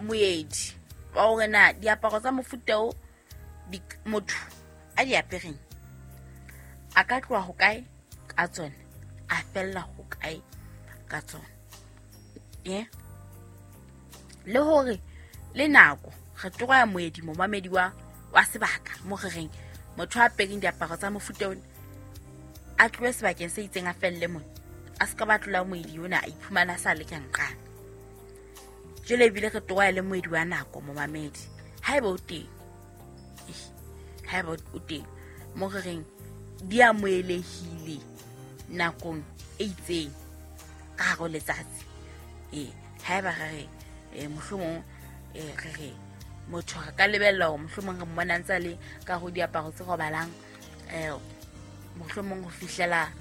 Moedi wa hore na diaparo tsa mofuta o motho a di apereng a ka tloha hokae ka tsona, a fella hokae ka tsona. Ye le hore le nako re toroya moedi momamedi wa sebaka mo re reng motho a apereng diaparo tsa mofuta ona a tlohe sebakeng se itseng a felle mona, a se ka ba tlola moedi ona a iphumana a sa le ka nqane. Jwale ebile re toroya le moedi wa nako momamedi haeba o teng, haeba o teng mo re reng di amohelehile nakong e itseng ka hare ho letsatsi. Haeba re re mohlomong re re motho re ka lebella hore mohlomong re mmona ntse a le ka ho diaparo tse robalang mohlomong ho fihlela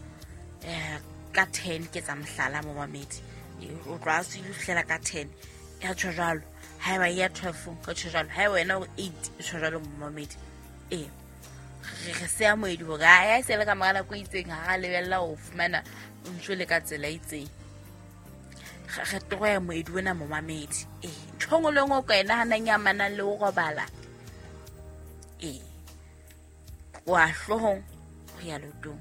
ka 10 ke tsa mohlala momamedi, o tloha a tswile ho fihlela ka 10 ya tjho jwalo, haeba ya 12 re tjho jwalo, haeba wena o 8 e tjho jwalo momamedi. Re seya moedi hore ha e se le ka mora nako e itseng ha ra lebella ho fumana o ntso le ka tsela e itseng. Re toroya moedi ona momamedi. Ntho nngwe le nngwe o ka e nahanang e amanang le ho robala, wa hloohong ho ya leotong.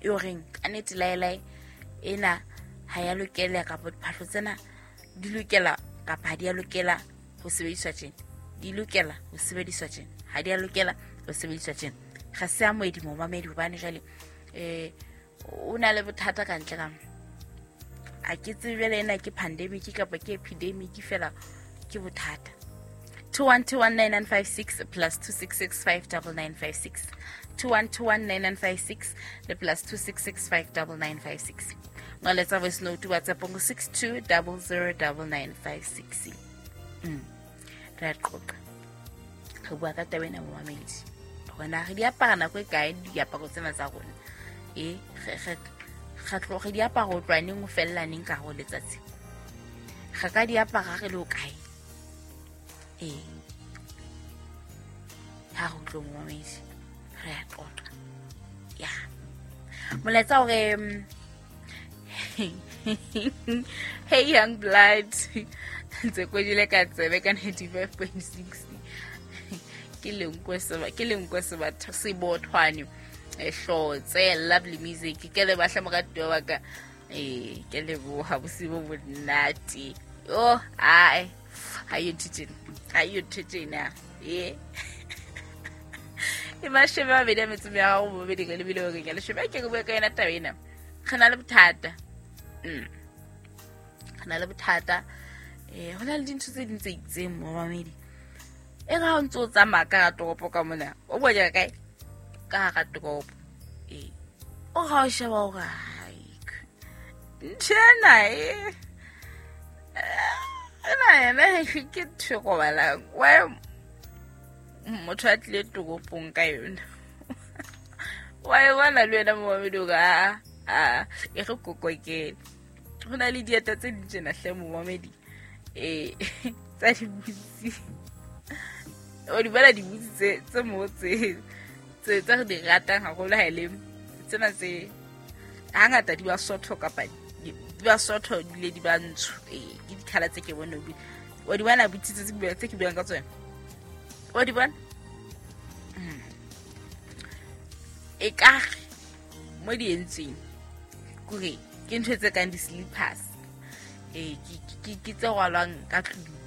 E o reng ka nnete laelae ena ha ya lokela, kapa diphahlo tsena di lokela kapa ha di a lokela ho sebediswa tjena, di lokela ho sebediswa tjena, ha di a lokela ho sebediswa tjena. Re seya moedi momamedi hobane jwale o na le bothata ka ntle ka mo. A ke tsebe jwale ena ke pandemic kapa ke epidemic, fela ke bothata. 21219956 plus 26659956, 21219956 le plus 26659956. Ngoletsa voice note WhatsApp ngo 62009956. Re a qoqa, re bua ka taba ena momamedi, hore na re di apara nako e kae diaparo tsena tsa rona. Re di apara ho tloha neng ho fella neng ka hare ho letsatsi, re ka di apara re le ho kae. Ha re utlwe momamedi, re a qoqa. Ya molaetsa hore hey young blood ntse kwedile ka tsebe ka 95.6 ke lenkwe sebothwane hlotse lovely music. Ke le bahla moratuwa wa ka, ke leboha bosibo bonate. Oh ai ha yo thetsena e mashome a mabedi a metso meraro bobedi ka lebile hore ke leshome ke bua ka yona taba ena. Re na le bothata, re na le bothata. Ho na le dintho tse ding tse itseng momamedi, e re ha o ntse o tsamaya ka hara toropo ka mona, o bua ka kae ka hara toropo, o ha o sheba hore ntho ena ena yena ke ntho e robalang, why motho a tlile toropong ka yona? Wa e bona le wena momamedi hore a e re kokokele. Ho na le dieta tse ding tjena hle momamedi, tsa dibutsi, o di bona dibutsi tse mo tse re di ratang haholo ha e le tsena tse hangata di ba sotho kapa di ba sotho di le di ba ntsho. Ke dikhala tse ke bone o di bona butsi tse ke buang ka tsona, o di bona e ka mo di entsweng kore ke ntho tse kang di-slippers, ke tse rwalwang ka tlung,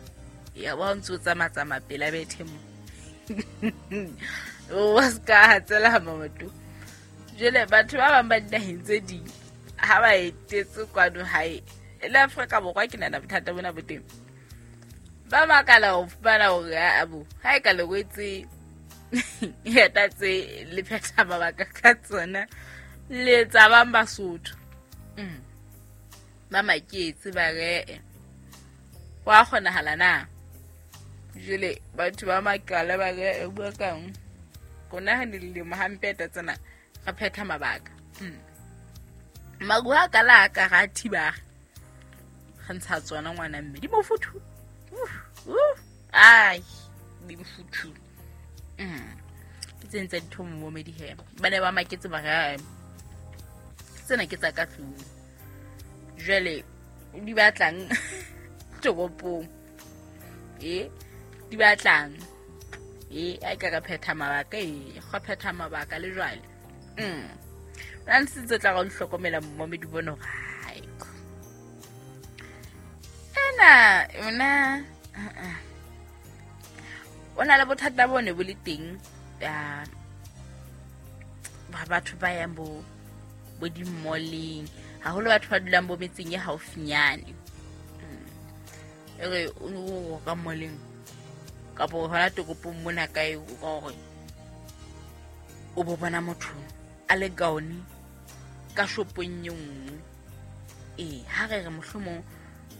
ya ba o ntse o tsamatsamaya pela bethe mo o ska hatsela maoto. Jwale batho ba bang ba dinaheng tse ding ha ba etetse kwano hae le Afrika Borwa, ke nahana bothata bona bo teng. Ba makala ho fumana hore abo ha e ka le wetse eta tse le phetha mabaka ka tsona le tsa bang Basotho. Ba maketse ba re wa kgonahala na? Jwale batho ba makala ba re bua kang rona ha ne le hampe eta tsena re phetha mabaka. Maruo a ka la ka ra thiba re ntsha tsona ngwana mme di mofuthu. Ai di mofuthu. Ke tse ntse ditho momedi he ba ne ba maketse ba re tsena ke tsa ka tlung. Jwale di batlang Toropong e di batlang e a ka re phetha mabaka e go phetha mabaka le jwale. Nna ntse tla go hlokomela momedi bono gae. Ena yona o na le bothata bo ne bo le teng ba batho ba yang bo di-malleng, haholo batho ba dulang bo metseng e haufinyane. E re o ka malleng kapa hona toropong mona kae, o ka hore o bo bona motho a le gaone ka shopong e nngwe. Ee, ha re re mohlomong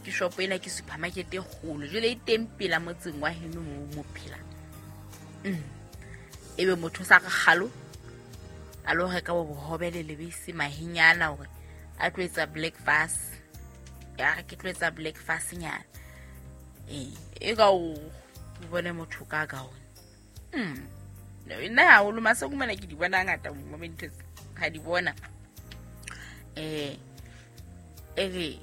ke shopo ena ke supermarket e kgolo, jwale e teng pela motseng wa heno moo mo phelang. Ebe motho o sa re kgalo a lo reka bo bohobe le lebese mahenyana hore a tlo etsa breakfast. Ya re ke tlo etsa breakfast nyana. Ee, e ka o bone motho ka gaone. Nna haholo maseko mona ke di bona ngata mo ntho ha di bona. E re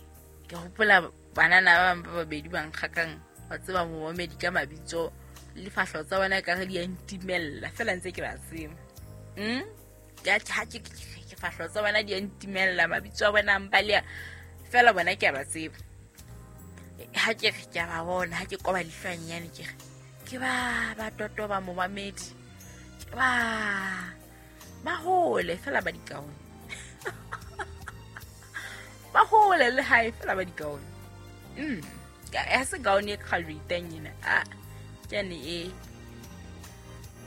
ke hopola banana ba bang ba babedi ba nkgakang ba tseba momamedi ka mabitso le fahlo tsa bona ka re di a ntimella fela ntse ke ba tseba. Ke ha ke fahlo tsa bona di a ntimella, mabitso a bona mpa le fela bona ke a ba tseba. Ha ke re ke a ba bona, ha ke koba lehlwanyane ke re ke ba totoba momamedi, ke ba hole fela ba dikaone. Ba hole le hae fela ba dikaone. Ya se gaone e graduateng ena. A ke ane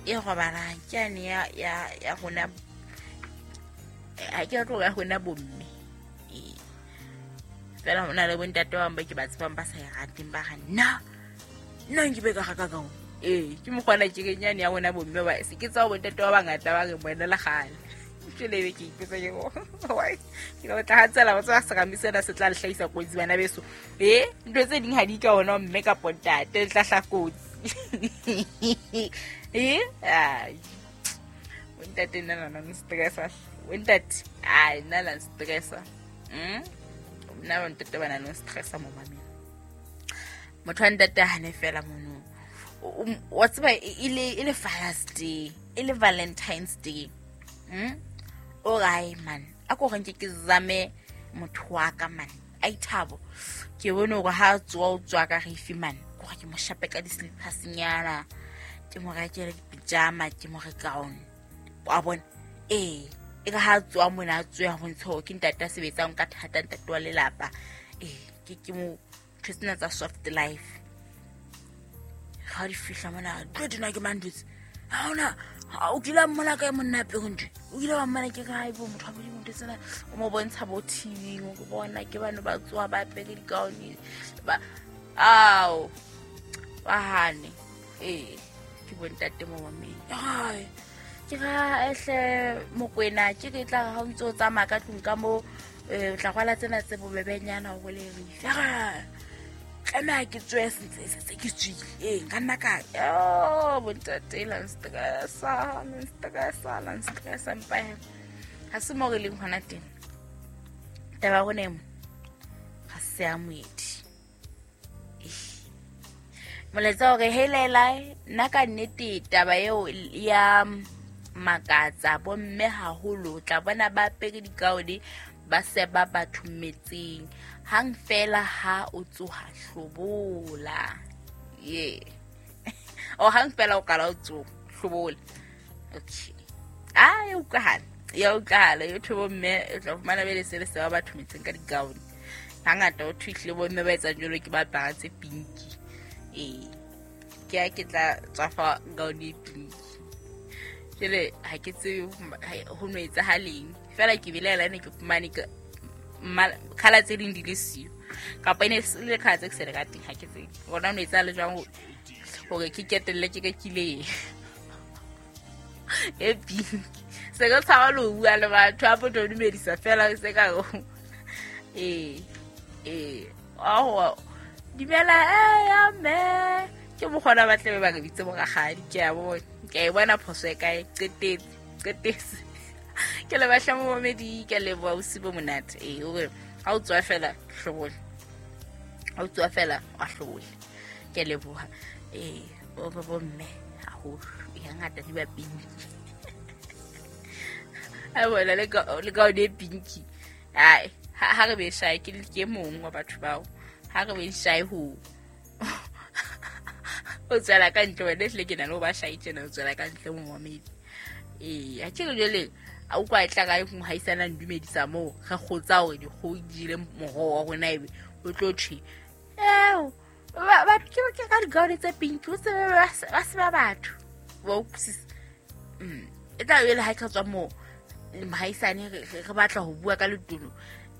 e robalang, ke ane ya rona, ha ke tlo ya rona bomme. Ee, fela hona le bontate ba bang ba ke ba tsebang ba sa e rateng, ba re nna nke be ka reka gaone. Ee, ke mokgwana ke re nyane ya rona bomme ba se ke tsa bontate ba bangata ba re bona le kgale. Jwale ebe ke ipotsa ke why ke tla tla hatsela ba tswa serame sena se tla le hlahisa kotsi bana beso. Ntho tse ding ha di ka ona mme ka pontate le tla hla kotsi. Ai bontate nna na stressa, bontate ai nna la stressa. Nna bontate bana no stressa mo mameng. Motho wa ntate hane fela mono. Wa tseba e le Father's Day, e le Valentine's Day. O re man, a ko re nke ke zame motho wa ka man. A ithabo. Ke bone hore ha tswa o tswa ka refi man. Ko re ke mo shape ka di-slippers nyana. Ke mo rekele di-pyjama, ke mo re gown. Wa bona? Ee, e ka ha tswa mona a tswe ho ntsho ke ntate a sebetsang ka thata, ntate wa lelapa. Ee, ke mo ntho tsena tsa soft life. Ha di fihla mona, tlo dina ke mandutse. Ha ona o kile wa mmona kae monna apere ntho? O kile wa mmona ke kae bo motho wa Modimo ntho tsena? O mo bontsha bo TV, o bona ke bano ba tsoha ba apere dikaone. Ba ao ba hane. Ee, ke bontate mo mameng. Ai, ke ra ehle Mokwena, ke re tla ha o ntse o tsamaya ka tlung ka mo, o tla rwala tsena tse bobebenyana hore le re fe. Tlameha ke tswe se ke tswile. Ee, nka nna ka bontate la nstressa, la nstressa mpa he. Ha se mo re leng hona teng. Taba ya rona e mo ga se ya moedi. Molaetsa hore helela nna ka nnete taba eo ya makatsa bomme haholo, tla bona ba apere dikaone ba seba batho metseng. Hang fela ha o tsoha hlobola. Ye. O hang fela o qala o tsoha hlobola. Okay. Ah, ya utlwahala. Ya utlwahala. Yo thobo mme o tla fumana be le se le seba batho metseng ka dikaone. Hangata o thuhle bomme ba etsang jwalo ke ba apara tse pinki. Ee. Ke a ke tla tswafa gaone e pinki. Jwale ha ke tsebe ho no etsahaleng. Fela ke belaela ne ke fumane ka khala tse ding di le siyo. Kapa e ne le khala tse ke se le ka teng, ha ke tsebe. Bona no etsahala jwang hore ke ketelle ke rekile e pink. Se ka tshaba le ho bua le batho, ha potho dumedisa fela se ka ee, aowa, dumela, ya mme. Ke mokgona ba tle ba re bitse borakgadi, ke a bona. Ke a e bona phoso e kae, qetetse. Ke le batla momamedi, ke a leboha, bosiu bo monate. Ee, hore ha o tswa fela hlobola. O tswa fela wa hlole. Ke a leboha. O re bomme haholo ya ngata di ba pinki. A bona le ka o ne pinki. Ai, ha re be shy ke mong wa batho bao. Ha re be shy ho o tswela ka ntle wena ehlile ke na le ho ba shy tjena o tswela ka ntle momamedi. A ke re jwale a utlwa e tla ka mohaisana ndumedisa moo re kgotsa hore dikgoho di jele moroho wa rona ebe o tlo thwe eo ba ke ka digaone tse pinki o tsebe ba se ba batho wa utlwisisa. E tla be le ha ke tswa moo mohaisane re batla ho bua ka letono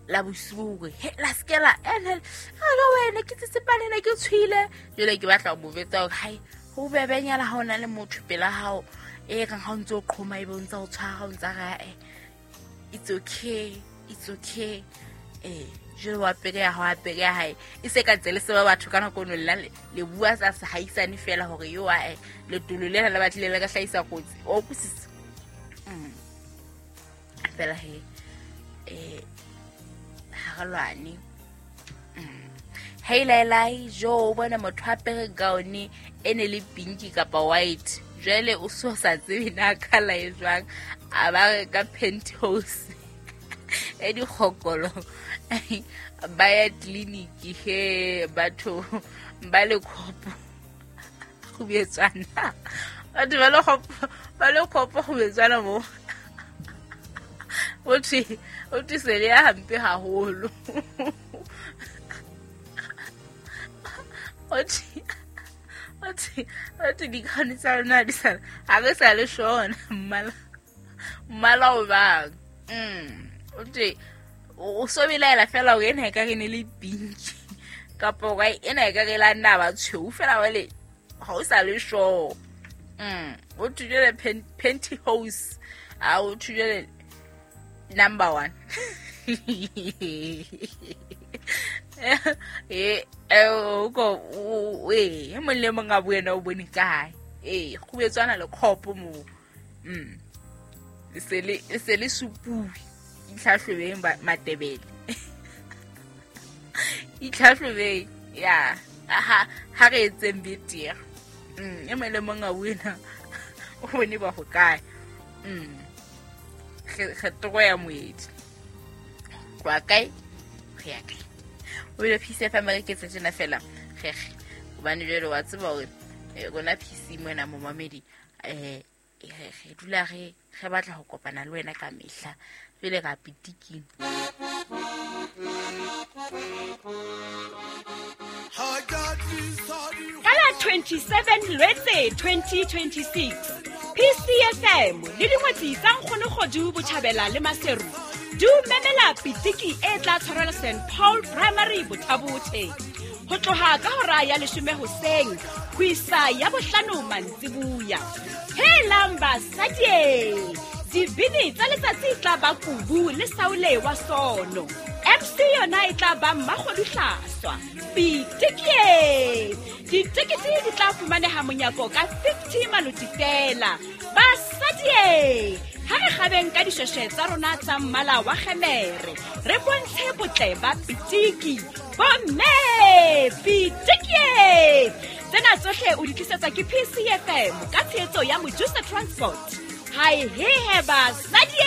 la bosiu hore he la skela ene re wena ke tsitsipane ne ke tshwile jwale ke batla ho mo betsa hore hai ho bebenyana ha ona le motho pela hao e kang ha o ntse o qhoma ebe o ntse o tshwara o ntse ra it's okay it's okay jwale wa pele ya hao pele ya hae e se ka tsele se ba batho ka nako no lla le bua sa se haisane fela hore yo a letolo lena le batlile le ka hlahisa kotsi o kusisa fela he ha re lwane. Hei lai jo bona motho a pere gaone e ne le pinki kapa white jwale o so sa tsebe na kala e jwang a ba ka penthouse e dikgokolo ba ya tleliniki he batho ba le khopo go betsana batho ba le khopo go betsana mo o thwe se le ya hampe haholo. O thwe dikgane tsa rona di sa ha re sa le shona mmala o bang. O thwe o so belaela fela hore ena e ka re ne le pinki kapa hore ena e ka re la nna ba tshweu fela wale ha o sa le sure. O thwe jwale pantyhose a o thwe jwale number 1. O e mong le mong a buena o bone kae go betswana le khopo mo se le supuwe itlhahlobeng Matebele itlhahlobeng ya ha re etseng betere e mong le mong a buena o bone ba ho kae. Re toro ya moedi kwa kae re ya kae o ile PC FM re ke tsena fela gege hobane jwale wa tseba hore rona PC mona momamedi re dula re batla ho kopana le wena ka mehla jwale ka pitiking. Ka la 27 Lwetse 2026 PCFM le dingwetsi tsa Nkgono Kgodu Botjhabela le Maseru di memela pitiki e tla tshwarelwa St Paul Primary Bothabothe ho tloha ka hora ya 10 hoseng ho isa ya 5 mantsibuya. Helang basadi, dibini tsa letsatsi tla ba Kubu le Saule wa Sono. MC yona e tla ba Mmakgodu Hlaswa. Pitiki ditekete di tla fumaneha monyako ka 50 maloti fela. Basadi, ha re kgabeng ka dishweshwe tsa rona tsa mmala wa kgemere re bontshe botle ba pitiki. Bomme pitiki tsena tsohle o di tlisetswa ke PCFM ka tshehetso ya Mojusa Transport. Hai he he basadi.